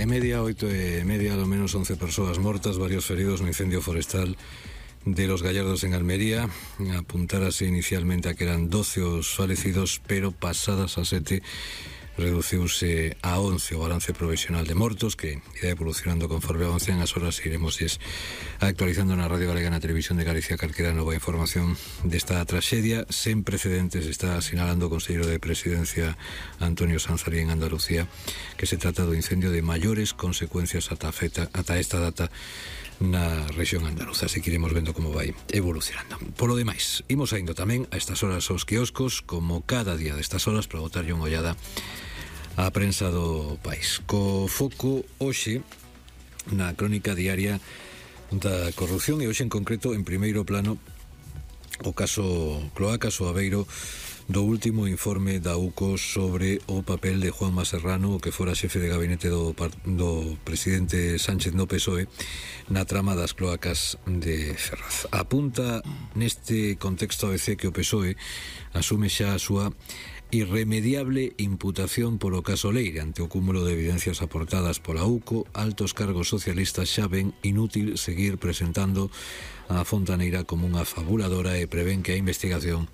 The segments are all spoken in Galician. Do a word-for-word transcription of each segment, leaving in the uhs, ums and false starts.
e media, oito e media, ao menos once persoas mortas, varios feridos no incendio forestal de Los Gallardos en Almería. Apuntárase inicialmente a que eran doce os falecidos, pero pasadas as sete reduciuse a once o balance provisional de mortos, que irá evolucionando conforme avancen as horas. Iremos actualizando na Radio Galega, na Televisión de Galicia, calquera nova información desta traxedia sen precedentes. Está sinalando o Conselleiro de Presidencia Antonio Sanzarí en Andalucía que se trata do incendio de maiores consecuencias ata, feta, ata esta data na rexión andaluza, así que iremos vendo como vai evolucionando. Polo demais, imos saindo tamén a estas horas aos quioscos, como cada día destas horas, para botarlle unha ollada á prensa do país, co foco hoxe na crónica diaria da corrupción, e hoxe en concreto en primeiro plano o caso Cloacas o Aveiro, do último informe da U C O sobre o papel de Juanma Serrano, que fora xefe de gabinete do, do presidente Sánchez no P S O E, na trama das cloacas de Ferraz. Apunta neste contexto A B C que o P S O E asume xa a súa irremediable imputación polo caso Leire. Ante o cúmulo de evidencias aportadas pola U C O, altos cargos socialistas xa ven inútil seguir presentando a Fontaneira como unha fabuladora e prevén que a investigación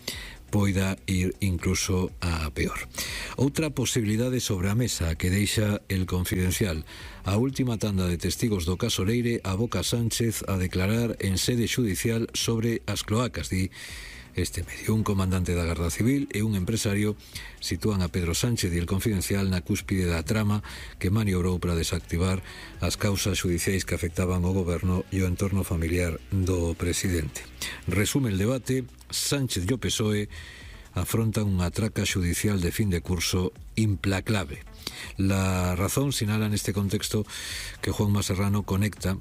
poida ir incluso a peor. Outra posibilidade sobre a mesa que deixa El Confidencial: a última tanda de testigos do caso Leire aboca Sánchez a declarar en sede xudicial sobre as cloacas, di este medio. Un comandante da Garda Civil e un empresario sitúan a Pedro Sánchez e El Confidencial na cúspide da trama que maniobrou para desactivar as causas xudiciais que afectaban o goberno e o entorno familiar do presidente. Resume el debate: Sánchez e o P S O E afrontan unha traca xudicial de fin de curso implacable. La Razón sinala neste contexto que Juanma Serrano conecta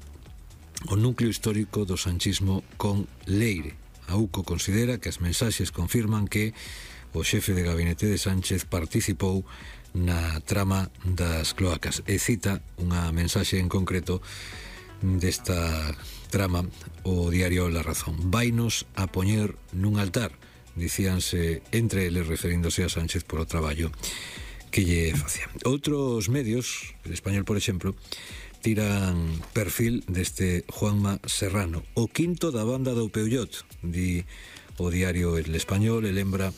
o núcleo histórico do sanchismo con Leire. A U C O considera que as mensaxes confirman que o xefe de gabinete de Sánchez participou na trama das cloacas, e cita unha mensaxe en concreto desta trama o diario La Razón: vainos a poñer nun altar, dicíanse entre eles referíndose a Sánchez polo traballo que lle facía. Outros medios, El Español por exemplo, tiran perfil deste Juanma Serrano, o quinto da banda do Peullot, di o diario El Español, e lembra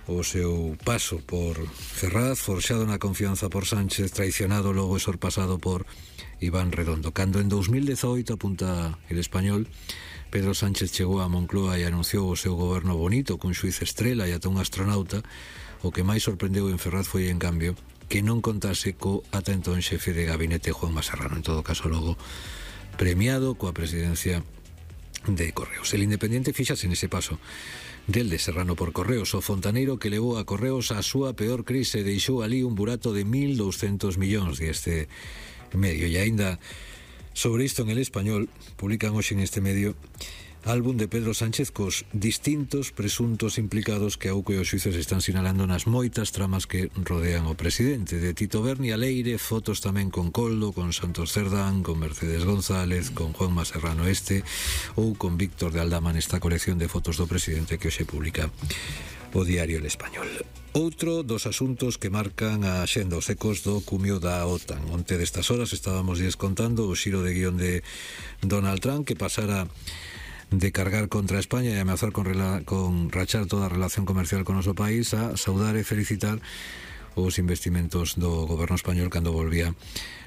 o seu paso por Ferraz, forxado na confianza por Sánchez, traicionado logo e sorpasado por Iván Redondo. Cando en dos mil dezaoito, apunta El Español, Pedro Sánchez chegou a Moncloa e anunciou o seu goberno bonito, cun xuiz estrela e ata un astronauta, o que máis sorprendeu en Ferraz foi, en cambio, que non contase co ata entón xefe de gabinete Juanma Serrano, en todo caso logo premiado coa presidencia de Correos. El Independiente fíxase nese paso del de Serrano por Correos, o fontaneiro que levou a Correos a súa peor crise e deixou ali un burato de mil douscentos millóns de este medio. E aínda sobre isto, en El Español publican hoxe en este medio álbum de Pedro Sánchez cos distintos presuntos implicados que a U C O e os xuíces están sinalando nas moitas tramas que rodean o presidente. De Tito Berni a Leire, fotos tamén con Coldo, con Santos Cerdán, con Mercedes González, con Juanma Serrano este, ou con Víctor de Aldama nesta colección de fotos do presidente que hoxe publica o diario El Español. Outro dos asuntos que marcan a xenda, os ecos do cumio da OTAN. Onte destas horas estábamos descontando o xiro de guión de Donald Trump, que pasara de cargar contra España e ameazar con, rela, con rachar toda a relación comercial con o noso país, a saudar e felicitar os investimentos do goberno español cando volvía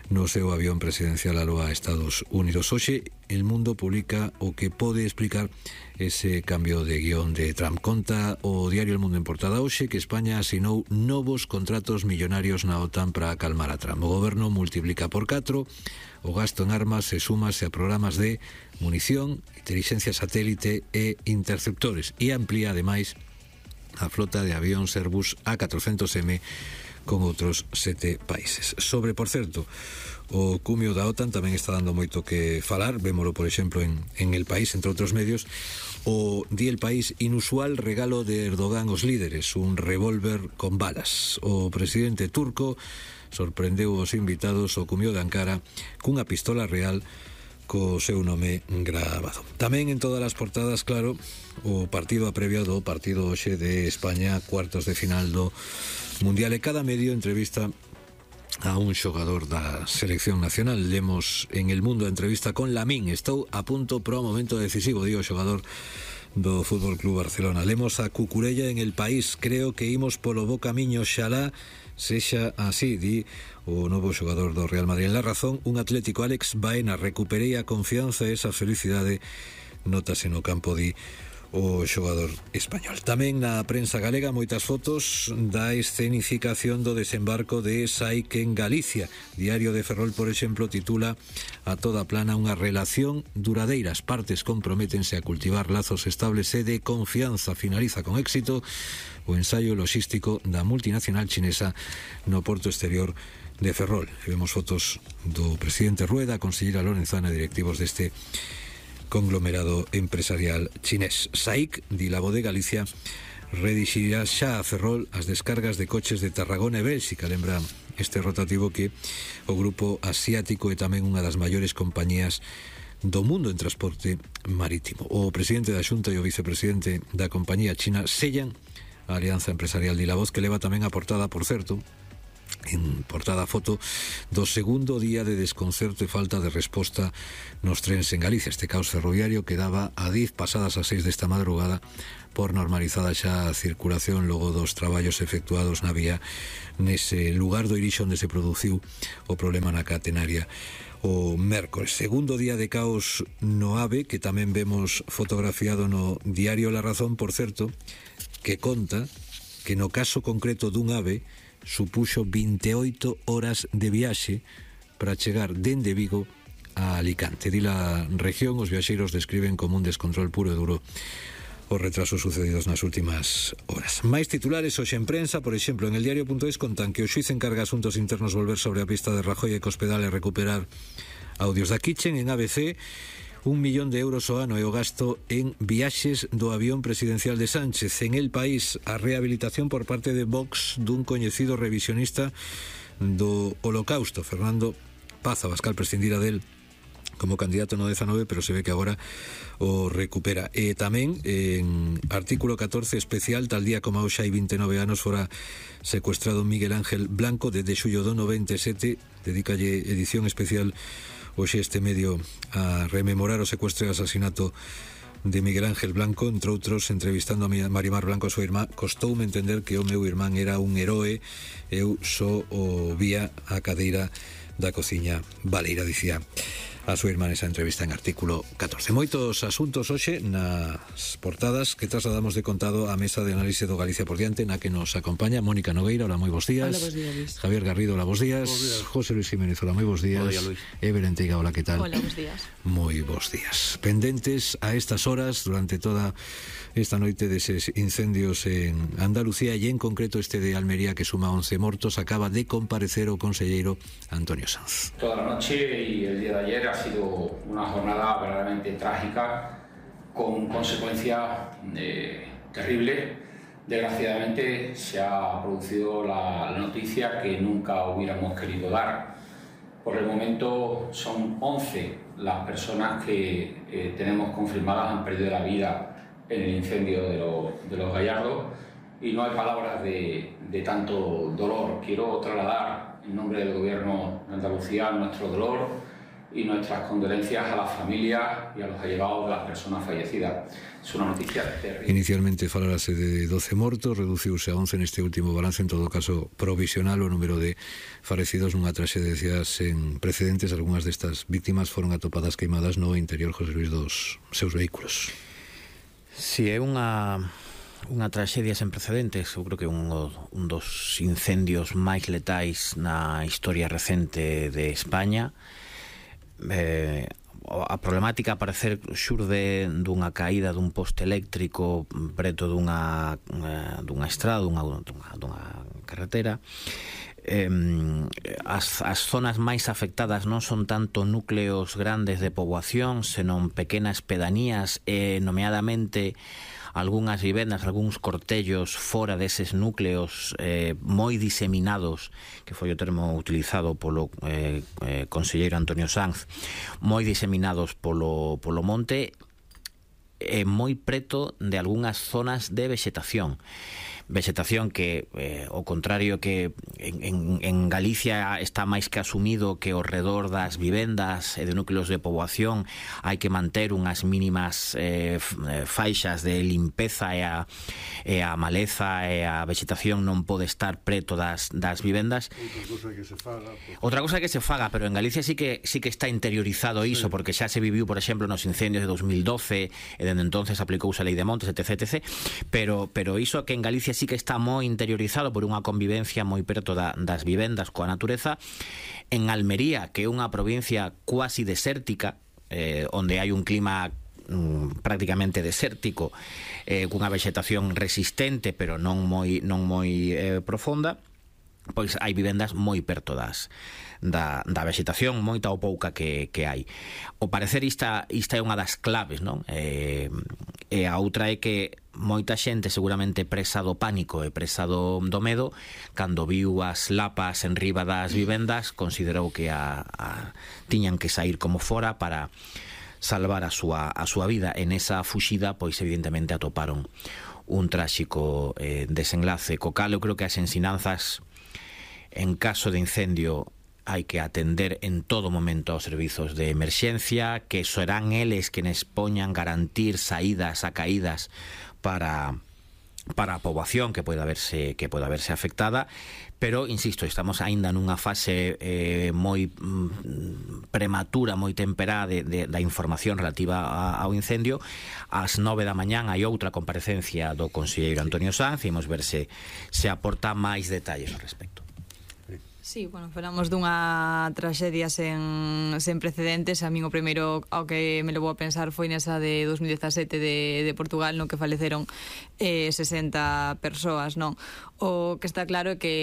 no seu avión presidencial aló a Estados Unidos. Hoxe El Mundo publica o que pode explicar ese cambio de guión de Trump. Conta o diario El Mundo en portada hoxe que España asinou novos contratos millonarios na OTAN para acalmar a Trump. O goberno multiplica por catro o gasto en armas e súmase a programas de munición, inteligencia satélite e interceptores, e amplía ademais a flota de avións Airbus A catrocentos M con outros sete países. Sobre, por certo, o cumio da OTAN tamén está dando moito que falar. Vémolo, por exemplo, en, en El País, entre outros medios. O di El País: inusual regalo de Erdogan aos líderes, un revólver con balas. O presidente turco sorprendeu os invitados ao cumio de Ankara cunha pistola real co seu nome gravado. Tamén en todas as portadas, claro, o partido aprevio do partido hoxe de España, cuartos de final do Mundial, e cada medio entrevista a un xogador da selección nacional. Lemos en El Mundo a entrevista con Lamín. Estou a punto para o momento decisivo, digo, xogador do Fútbol Club Barcelona. Lemos a Cucurella en El País. Creo que imos polo bo camiño, xalá sexa así, di o novo xogador do Real Madrid. En La Razón, un Atlético Alex Baena: recuperei a confianza e esa felicidade notase no campo, di o xogador español. Tamén na prensa galega moitas fotos da escenificación do desembarco de Saik en Galicia. Diario de Ferrol, por exemplo, titula a toda plana: unha relación duradeira, as partes comprométense a cultivar lazos estables e de confianza. Finaliza con éxito o ensaio logístico da multinacional chinesa no porto exterior de Ferrol. E vemos fotos do presidente Rueda, a conselleira Lorenzana e directivos deste conglomerado empresarial chinés. Saik, di La Voz de Galicia, redixirá xa a Ferrol as descargas de coches de Tarragona e Bélxica. Lembra este rotativo que o grupo asiático é tamén unha das maiores compañías do mundo en transporte marítimo. O presidente da Xunta e o vicepresidente da compañía china sellan a alianza empresarial de La Voz, que leva tamén a portada, por certo, en portada foto do segundo día de desconcerto e falta de resposta nos trens en Galicia. Este caos ferroviario quedaba a dez pasadas as seis desta madrugada por normalizada xa a circulación logo dos traballos efectuados na vía nese lugar do Irixo onde se produciu o problema na catenaria o mércores. Segundo día de caos no AVE, que tamén vemos fotografiado no diario La Razón, por certo, que conta que no caso concreto dun AVE supuxo veintioito horas de viaxe para chegar dende Vigo a Alicante. Di La Región, os viaxeiros describen como un descontrol puro e duro os retrasos sucedidos nas últimas horas. Mais titulares hoxe en prensa, por exemplo, en el diario punto es contan que o xuiz encarga asuntos internos volver sobre a pista de Rajoy e Cospedal e recuperar audios da Kitchen. En A B C, un millón de euros o ano é o gasto en viaxes do avión presidencial de Sánchez. En El País, a rehabilitación por parte de Vox dun coñecido revisionista do Holocausto. Fernando Paz Abascal prescindira del como candidato no dezanove, pero se ve que agora o recupera. E tamén en artículo catorce especial, tal día como hoxe hai veintinueve anos fora secuestrado Miguel Ángel Blanco, desde xullo do noventa e sete, dedícalle edición especial hoxe este medio a rememorar o secuestro e asasinato de Miguel Ángel Blanco, entre outros, entrevistando a Marimar Blanco, a súa irmá. Costoume entender que o meu irmán era un heroe, eu só o vía a cadeira da cociña baleira, dicía a súa irmá nesa entrevista en artículo catorce. Moitos asuntos hoxe nas portadas que trasladamos de contado á mesa de análise do Galicia por diante, na que nos acompaña Mónica Nogueira. Hola, moi bons días. Hola, bons días, Luis. Javier Garrido, hola, bons días. días. José Luis Jiménez, hola, moi bons días. Hola, Luis. E Belén Teiga, hola, que tal? Hola, bons días. Moi bons días. Pendentes a estas horas, durante toda esta noite, deses incendios en Andalucía e en concreto este de Almería, que suma once mortos. Acaba de comparecer o conselleiro Antonio Sanz. Toda la noche y el día de ayer ha sido una jornada verdaderamente trágica, con consecuencias eh, terribles. Desgraciadamente se ha producido la, la noticia que nunca hubiéramos querido dar. Por el momento son once las personas que eh, tenemos confirmadas han perdido la vida en el incendio de, lo, de los Gallardos, y no hay palabras de, de tanto dolor. Quiero trasladar en nombre del Gobierno de Andalucía nuestro dolor y nuestras condolencias a las familias y a los allegados de las personas fallecidas. Es una noticia terrible. Inicialmente falarase de doce mortos, reduciuse a once neste último balance, en todo caso provisional, o número de falecidos nunha traxedia sen precedentes. Algúnas destas víctimas foron atopadas queimadas no interior, José Luis, dos seus vehículos. Si é unha unha traxedia sen precedentes, eu creo que un, un dos incendios máis letais na historia recente de España. Eh, a problemática a parecer xurde dunha caída dun poste eléctrico preto dunha, dunha estrada, dunha, dunha, dunha carretera. Eh, as, as zonas máis afectadas non son tanto núcleos grandes de poboación, senón pequenas pedanías e, nomeadamente, algunhas vivendas, algúns cortellos fora deses núcleos eh, moi diseminados, que foi o termo utilizado polo eh, eh, conselleiro Antonio Sanz, moi diseminados polo, polo monte e moi preto de algunhas zonas de vexetación. vexetación que, eh, ao contrario que en, en, en Galicia está máis que asumido que ao redor das vivendas e de núcleos de poboación hai que manter unhas mínimas eh, faixas de limpeza e a, e a maleza e a vegetación non pode estar preto das, das vivendas. Outra cousa que se faga, porque... Outra cousa que se faga, pero en Galicia sí que sí que está interiorizado iso, sí, porque xa se viviu, por exemplo, nos incendios de dos mil doce e dende entonces aplicouse a Lei de Montes, etc, etc. Pero, pero iso que en Galicia sí que está moi interiorizado por unha convivencia moi preto da, das vivendas coa natureza. En Almería, que é unha provincia cuasi desértica, eh, onde hai un clima mm, prácticamente desértico, eh, cunha vegetación resistente pero non moi, non moi eh, profunda, pois hai vivendas moi perto das da, da vegetación, moita ou pouca que, que hai. O parecer ista, ista é unha das claves, non? E, e a outra é que moita xente seguramente presa do pánico e presa do, do medo, cando viu as lapas en riba das vivendas, considerou que a, a, tiñan que sair como fora para salvar a súa, a súa vida. En esa fuxida, pois evidentemente atoparon un tráxico eh, desenlace, co cal eu creo que as ensinanzas en caso de incendio hai que atender en todo momento aos servizos de emerxencia, que serán eles quenes poñan garantir saídas a caídas para para a poboación que poida verse que poida verse afectada, pero insisto, estamos aínda nunha fase eh, moi mm, prematura, moi temperada de, de, da información relativa a, ao incendio. Ás nove da mañán hai outra comparecencia do conselleiro Antonio Sanz e imos ver se, se aporta máis detalles ao respecto. Sí, bueno, falamos dunha traxedia sen, sen precedentes. A min o primeiro ao que me levou a pensar foi nesa de dos mil dezasete de, de Portugal, no que faleceron eh, sesenta persoas, non? O que está claro é que